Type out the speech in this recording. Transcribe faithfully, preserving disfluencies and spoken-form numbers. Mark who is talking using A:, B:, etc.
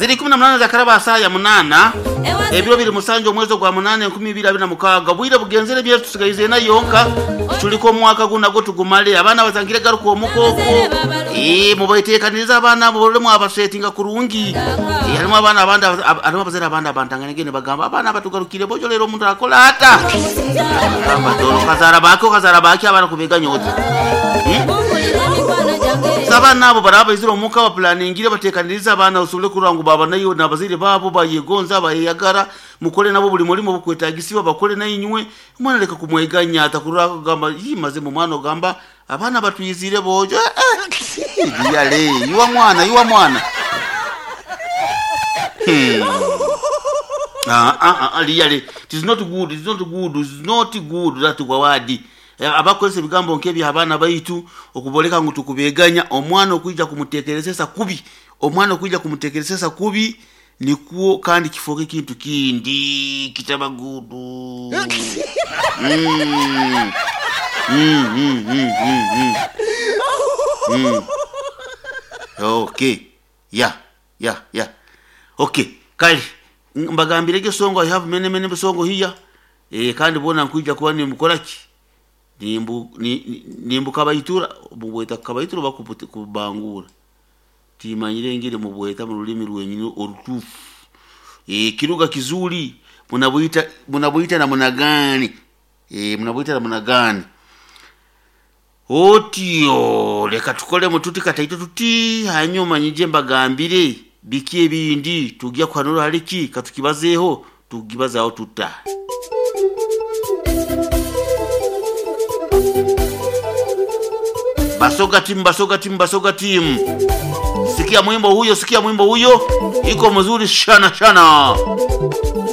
A: Ziri kumi na munana zakaraba saa ya munana, ebiro biri musanju omwezi gwa munana enkumi ibiri abiri na mukaaga. Bwire bugenzere bye tusigaize na yonka tuliko omwaka guno nagwo tugumale. Abaana batangire garuka omukoko, eh mubaitekaniriza abaana bolemu abasetinga kurungi. Eh, harimu abaana abandi, harimu abazaire abandi abantangane bagamba abaana batugarukire bojo lero omuntu akola ata gamba dolo kazara bako kazara baki abaana kubeganya oti. Hmm? Abaana abo baraba baizire omuka bapulaningire batekaniriza abaana osobole kurora ngu baba nayo n'abazaire baabo bayegonza bayeyagara, mukole nabo buli mulimo bukwetagisibwa bakole nainywe. Omwana leka kumweganya atakurora kugamba yimaze mu mwana ogamba abaana batwizire bojo, eh, eh. Yale iwa mwana iwa mwana. Hmm. Ah, ah, ah, really, it is not good, it is not good, it is not good that wawadi abakozesa ebigambo nk'ebyo abaana baitu okuboleka ngu tukubeganya omwana okwija kumutekerezesa kubi, omwana okwija kumutekerezesa kubi nikwo kandi kifoke ekintu kindi kitaba gudu. mm. Mm, mm, mm, mm, mm. Mm. Okay, yeah, yeah, yeah. Okay, kale mbagambirege songo. I have many many songo here, eh kandi bona nkwija kuba nimukora ki nimbu nimbu kabayitura mubweta kabayitura bakubangura timanyire ngire mubweta mu rulimi rwenyine orutufu. Eh kiruga kizuri munabuita munabuita na munagani, eh munabuita na munagani otyo. Leka tukole mututi kataito tuti hanyuma nyije mbagambire biki ebindi tujya kuhanura hariki katukibazeho tugibazaho tuta. Basoga timu, Basoga timu, Basoga timu. Sikia mwimbo huyo, sikia mwimbo huyo, iko mzuri shana shana.